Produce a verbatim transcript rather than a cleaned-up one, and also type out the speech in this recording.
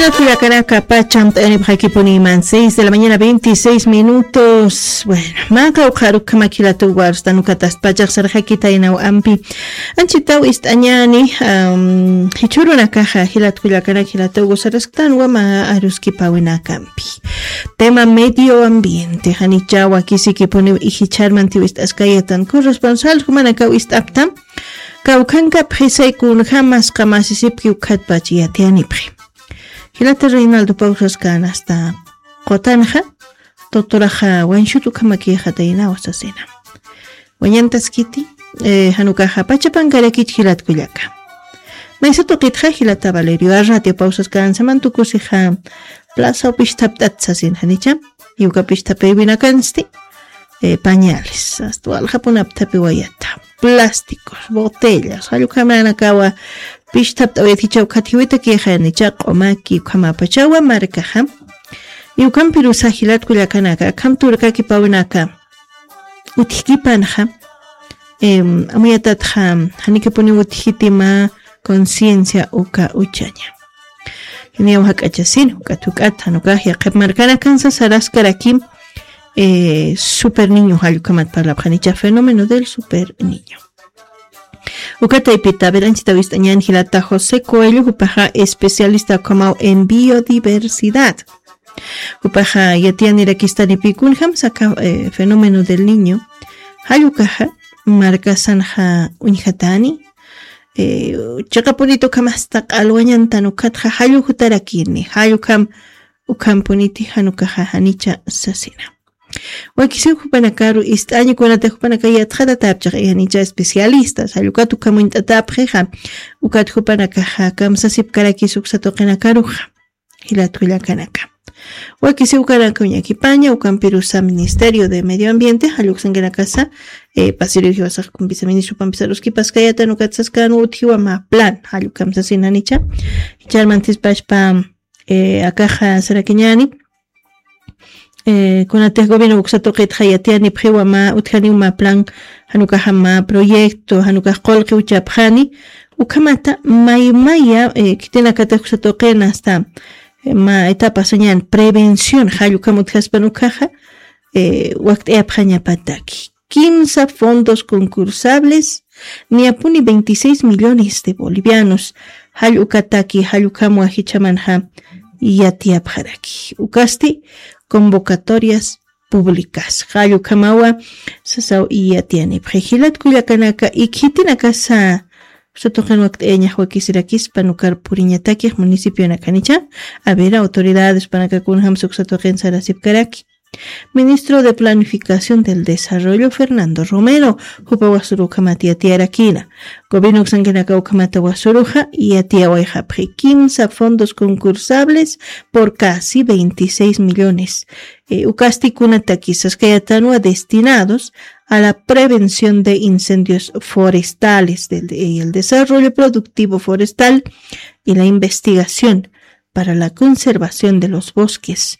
Kullakanaka pacham t'ayanipxakipuni iman seis de la mañana veintiséis minutos. Bueno, maka uqharukama kilatuwarsta nukatast pachaq sarxakitaynaw ampi. Anchitaw ist'añani, am, jichhurunakaxa jilat kullakanaka jilatugu sarasktan wama aruskipawinakampi. Tema medio ambiente janichawa kisikipuniw ijicharmantiw ist'askayatan corresponsal jumanakaw ist'aptam. Kawkhanka phisay kunjamas qamasisipki ukhatpach yatiyanipxi. Jilata Reinaldo Pausas kanasta qutanxa, doctoraxa wanshut ukhamakixataynawa sasina. Wañantaskiti, eh, janukaxa pachapankarakich jilat kullaka. Maysa tuqitxa jilata Valerio a radio Pausas kansaman tukusixa plaza upistapt'at sasin janicha. Yuka pistapewinakansti, eh, pañales, asta waljapunaptapi wayata, plásticos, botellas, jallukhamanakawa pistapt'awayat jichaw khatjiwita kixanicha q'umaki ukhamapachawa markaxa. Yukampirusa jilat kullakanaka, akham turkakipawinaka utjkipanxa, em, amuyatatxa, janikipuni utjiti mä conciencia uka uchaña. Jiniyaw jak'achasin, juk'at juk'at, janukax yaqhip markanakansa saraskarakim, eh, super niño jallukhamat parlapxanicha fenómeno del super niño. Uka taypita, a ver, anchita wist'añan jilata José Coelho, jupaxa especialista ukhamaw en biodiversidad. Jupaxa yatiyanirakistanipï kunjam saka, eh, fenómeno del niño. Jallukaxa markasanxa uñjatani, eh, chiqapunit ukhamasta q'alwañantan ukhatxa jallu jutarakini, jallukham ukhampuniti janukaxa janicha sasina. Wakisiw jupanakaru ist'aña kunata jupanaka yatxatatapchix janicha especialistas, jallukat ukham uñt'atapxixa, ukat jupanakaxa kamsasipkarakis uksa tuqinakaruxa. Jilat kullakanaka. Wakisiw ukanaka uñakipaña, ukampirusa Ministerio de Medio Ambiente, jalluksankinakasa, eh, pasiriw jiwasax kumpisa ministro pampisa ruskipaskayata nukat saskan utjiwa mä plan, jallukam sasin janicha. Charmantispashpa, eh, akaxa sarakiñani, eh, kunatix gobierno uksa tuqitxa yatiyanipxiwa mä, utjaniw mä plan, janukaxa mä proyecto, janukax qullqi uchapxani, ukhamata maymaya, eh, khitinakatix uksa tuqin asta, eh, mä etapa sañan prevención, jallukam utjaspan ukhaxa, eh, wakt'ayapxañapataki. Kimsa fondos concursables, niyapuni veintiséis millones de bolivianos, jall ukataki, jall ukham wajichamanxa yatiyapxaraki. Ukasti convocatorias públicas. Jall ukhamawa sasaw yatiyanipxi. Jilat kullakanaka, ikhitinakasa, uksa tuqin wakt'ayañax wakisirakispa nukar puriñatakix municipionakanicha. A ver, autoridades panaka kunjamsa uksa tuqin sarasipkaraki. Ministro de Planificación del Desarrollo, Fernando Romero, jupa wasuru ukhamat yatiyarakina. Gobierno uksankinaka ukhamata wasuruxa yatiyawayxapxi kimsa fondos concursables por casi veintiséis millones. Eh, ukasti kunataki saskayatanwa destinados a la prevención de incendios forestales del, y el desarrollo productivo forestal y la investigación para la conservación de los bosques